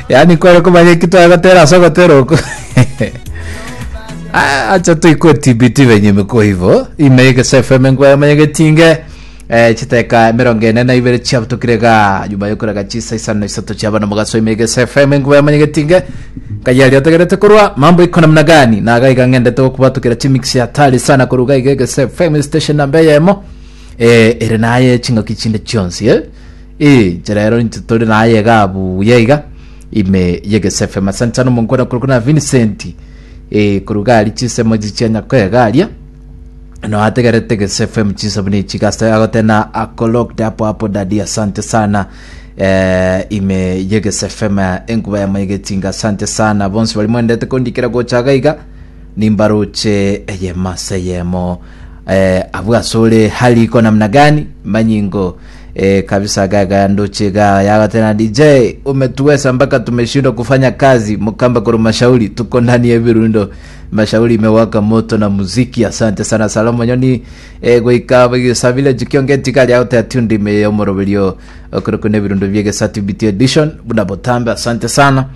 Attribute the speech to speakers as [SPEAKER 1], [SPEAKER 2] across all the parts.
[SPEAKER 1] Yaani kware komanya eki twagotera ase ogotera oko. Ah, acha toikwe TBT venye imekuwa hivyo. Ime FM ngwa manye getinge. Eh, chiteka 42 chiabutokire ga nyuma yokoraga chisa isano na isato chiabana mogaso ime Egesa FM ngwa manye getinge. Kayari otegerete korwa mambo iko namna gani na gaiga ng'endete gokubatukira chimix ya hatari sana koruga iga Egesa FM station namba eyemo. Eh, ere naye chingaki chinde chionsi eh. Eh, inche rero intwe tore naye iga buya iga ime y'Egesa FM. Asante sana omonkwana korokwa na Vincent eh, koruga aria chinsemo echi chia Nyakoega aria no ategerete Egesa FM chinsa buna echi gasa agotena ako locked hapo hapo daddy asante sana eh, ime y'Egesa FM enkuba ya maigetinga asante sana bonsi bari mwendete kondikera gocha iga iga nimbaroche eyemo ase eyemo eh, abwo asore hali iko namna gani manyingo eh, kabisa gaga ndoche ga yagatena DJ umetuweza mpaka tumeshindwa kufanya kazi mukamba kuru mashauri tuko ndani ya birundo mashauri imewaka moto na muziki asante sana Salomo Nyoni eh, goika bagisa village kiongeti kali out ya tundi me omoroberio okoroko ne birundo byegesa TBT edition buna botambe asante sana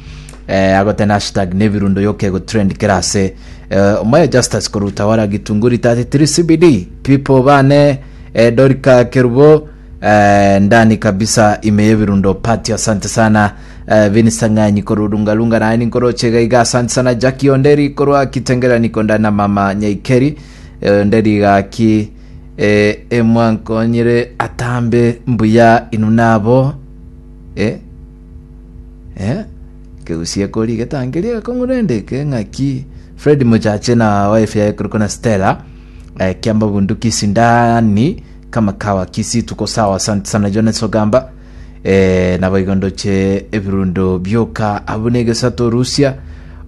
[SPEAKER 1] eh, agotena hashtag nebirundo yoke go trend kerase eh, omoyo Justus korutawara gitunguri 33 CBD people bane eh, Dorika Kerubo eh, ndani kabisa ime yebirundo party asante sana eh, Vinista Ng'anyi korurungalunga naye ninkoroche gaiga asante sana Jackie Onderi korwa Kitengela niko ndani na mama Nyaikeri eh, Onderi gaki eh, emwankonyire atambe mbuya inu nabo eh, eh, kegusie kori getangeria gakong'u rende eke ng'aki Fred Mochache na wife yaye korokwa na Stella eh, kiamba bunduki sindani kama kawa Kisii tuko sawa asante sana Jones Ogamba eh, nabo igo ndoche ebirundo bioka abwo na egesato Rusia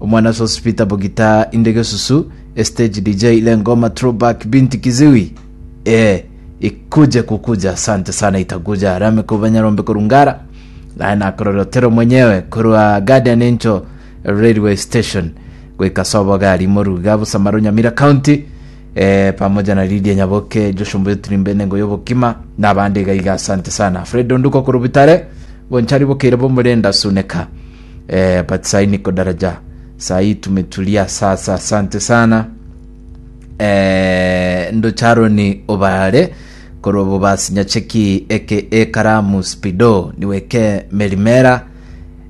[SPEAKER 1] omwana Sospeter Bogita inde gesusu stage DJ ile ngoma throwback binti kiziwi eh, ikuje kukuja asante sana itakuja rame kubanyarombe korungara naye nakorora otero mwenyewe korwa Guardian Angel Railway Station goika sobo gari moruga Busamaru Nyamira County eh, pamoja na Lydia Nyaboke Joshua Mbuyo Tirimbe Nengo Yobokima na abande iga iga asante sana Fred Onduko korwa Bitare Bonchari Bokeire Bomorenda Suneka eh, but sai niko daraja sai tumetulia sasa asante sana eh, ndocharoni obare korwa bobasi nyacheki eke ekaramu spido niweke merimera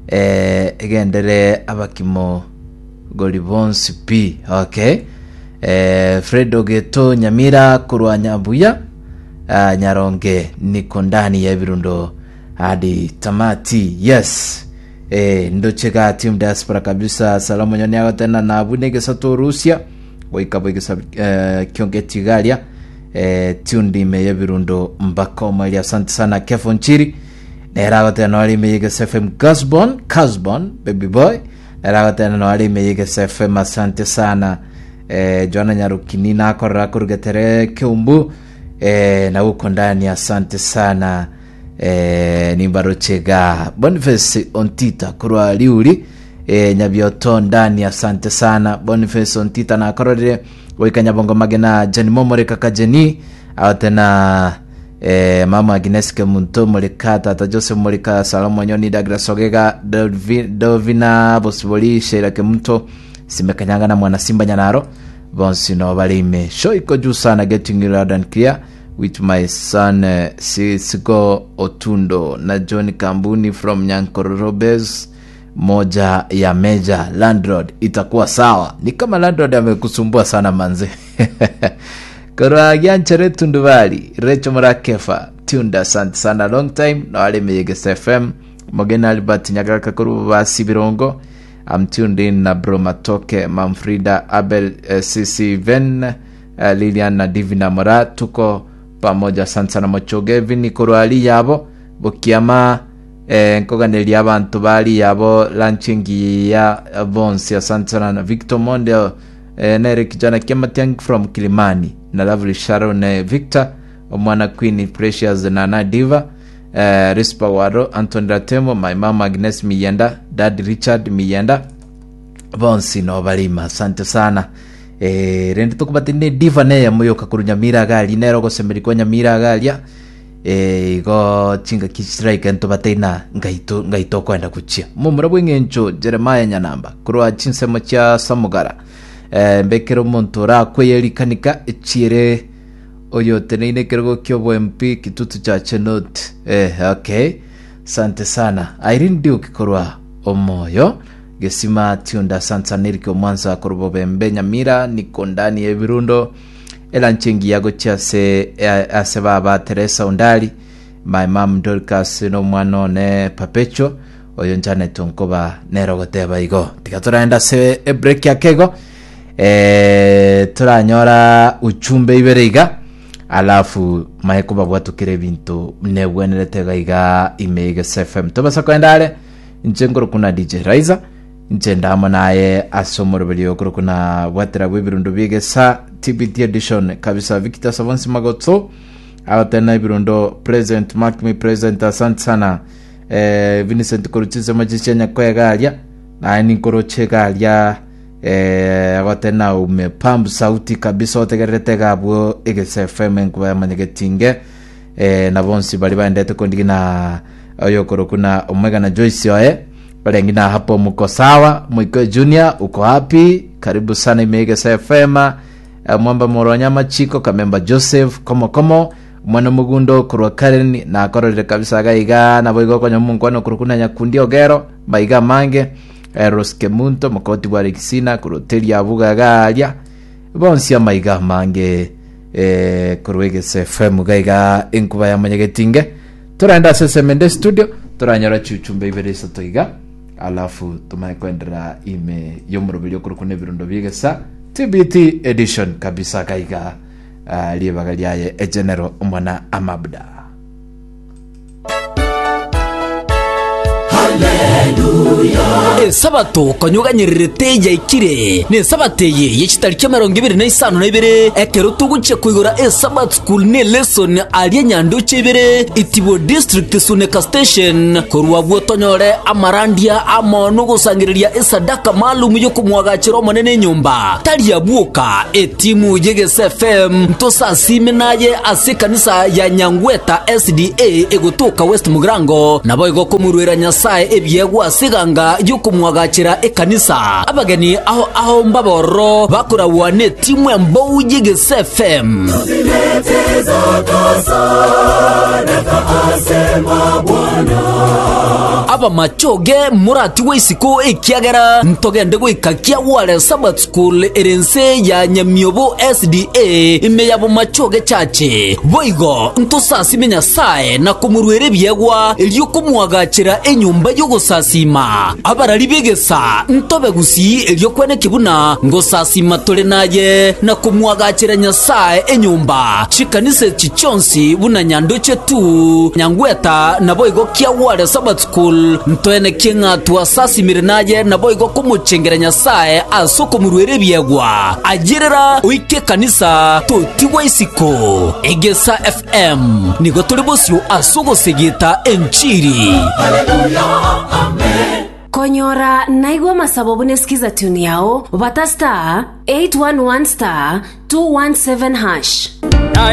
[SPEAKER 1] eh, egendere abakimo gori bonsi pi okay eh, Fred Ogeto Nyamira korwa Nyabuya ah, Nyaronge niko ndani ya ebirundo hadi tamati yes eh, ndoche ga team diaspora kabisa salamu nyoni agotena nabu negesato Rusia goika boigesa eh, kionge tigaria eh, tuned ime yebirundo mpaka omweri asante sana Kefo Nchiri nere agotena noare ime yegesa FM Gasbon Casbon baby boy nere agotena noare ime yegesa FM asante sana eh, Joana Nyarukini nakorera korugetere Keumbu eh, na uko ndani asante sana eh, nimbarochega Boniface Ontita korwa Riuri eh, Nyabioto ndani asante sana Boniface Ontita nakororire goika Nyabongo Magena Jeni Momoreka Kajeni agotena eh, mama Agnes Kemunto Moreka tata Joseph Moreka Salomo Nyoni Douglas Ogega Dovina Bosibori Sheila Kemunto Simekanyanga na mwana Simba Nyanaro bonsi no bare ime show iko juu sana getting you loud and clear with my son eh, Sisiko Otundo na John Kambuni from Nyankororo Base moja ya meja landlord itakuwa sawa ni kama landlord amekusumbua sana manze korwa gianchere tundubali recho murakefa tunda asante sana long time no ari meyegesa fm mogena albert nyagaraka kuri basi birongo I'm tuned in na bro matoke mamfrida abel eh, cc ven eh, lilian na divina mora tuko pamoja asante sana mochoge vini korwa ali yabo bokiama Eh, nkoganeria abanto bari abo lunch engiya bonsi asante sana na Victor Monde eh, nere kijana Kiamatiang from Kilimani na Lovely Sharon eh, Victor omwana Queen Precious na na Diva eh, Rispa Waro Anthony Ratemo my mama Agnes Miyenda Dad Richard Miyenda bonsi no barima asante sana eh, rende tokobati ne diva neye moyoka korwa Nyamira agaria nere ogosemeria kwa Nyamira agaria. Eh, igo chingaki chiraike ntobateina ngaito ngaito okoenda gochia momura bw'eng'encho Jeremiah Nyanamba korwa chinsemo chia Samugara eh, mbekere omonto orakweye rikanika echiere oyoteneine ekerogo ki'obo MP Kitutu cha Chenot eh, okay sante sana Irene Duke korwa omoyo Gesima Tiunda asante sana Eric Omwansa korwa Bobembe Nyamira niko ndani ya ebirundo Elanchi engiya gochia ase ase baba Teresa Ondari, my mum Dorcas na omwana one Perpetual, oyo Janet Onkoba nere ogoteba igo. Tiga toraenda ase ebreak ake igo eh, toranyora uchumbe ibere iga alafu mae kobabwatukera ebinto nebwenerete iga iga ime Egesa FM. Tobasa koenda are inche nkorokwa na DJ Raiza Inche ndamo naye ase omoroberi okorokwa na bwatera bw'ebirundo bi'egesa TBT edition kabisa Victor Savonsi Magotso agotena ebirundo present mark me present asante sana eh, Vincent koruchise machichi nyakoega aria naye ninkoroche iga aria eh, agotena umepamb sauti kabisa otegererete iga abwo egesa FM enkuba yamanyegetinge eh, na bonsi bari baendete kondigina oyokorokwa na omwegana Joyce oye Barenge na hapo muko sawa Mwiko Junior uko happy karibu sana Imegesa FM eh, mwamba moronya amachiko Kamemba Joseph komo komo omwana omogundo korwa Karen nakororire kabisa iga iga nabo igo okonya omonkwana okorokwa na Nyakundi Ogero maiga amange eh, Rose Kemunto mokoti bwa Alexina korwa Teria Abuga iga aria bonsi amaiga amange eh, korwa Egesa FM iga iga enkuba ya Mwanyagetinge Toraende ase esemende studio toranyora chiuchumbe ibere isato iga alafu tomanye koenderera ime y'omoroberi okorokwa n'ebirundo bi'egesa TBT edition kabisa gaiga uh, ribaga riaye egenero omwana amabda
[SPEAKER 2] Esabato konya oganyererete yaikire, na esabato eye ye chitariki emerongo ebere na isano na ibere, ekero togochia koigora Esabato School ne lesson aria nyandoche ibere, Itibo District Suneka Station, korwa abwo tonyore amarandia amo nogosangereria esadaka maalum yokomwagachera Omonene enyomba. Tari abwo oka, etimu y'Egesa FM ntosasime naye ase ekanisa ya Nyangweta SDA egotoka West Mugirango, naboigo komoruera Nyasae ebiegwa ase eganga y'okomwagachera ekanisa. Abageni ao ao mbabe ororo bakoragwa netimu embou y'Egesa FM. Abamachoge moratigwe isiko ekiagera ntogende goika Kiagware Sabbath School ere ense ya Nyamiobo SDA ime ya Bomachoge Church. Boigo ntosasime Nyasae na komoruera ebiegwa erio komoagachera enyomba y'ogosasiima. Abarari b'egesa ntobe gusii erio kweneki buna ngosasiima tore naye na komoagachera Nyasae enyomba. Chikanisa echi chionsi buna Nyandoche tu, Nyangweta, naboigo Kiagware Sabbath School, ntoenekie ng'a twasasimire naye naboigo komochengera Nyasae ase okomoruera ebiegwa. Ayerera oike ekanisa totigwa isiko. Egesa FM nigo tore bosio ase ogosegeta enchiri.
[SPEAKER 3] Konyora naigwe amasabo buna esikiza tune yao, bata star 811 star 217 hash.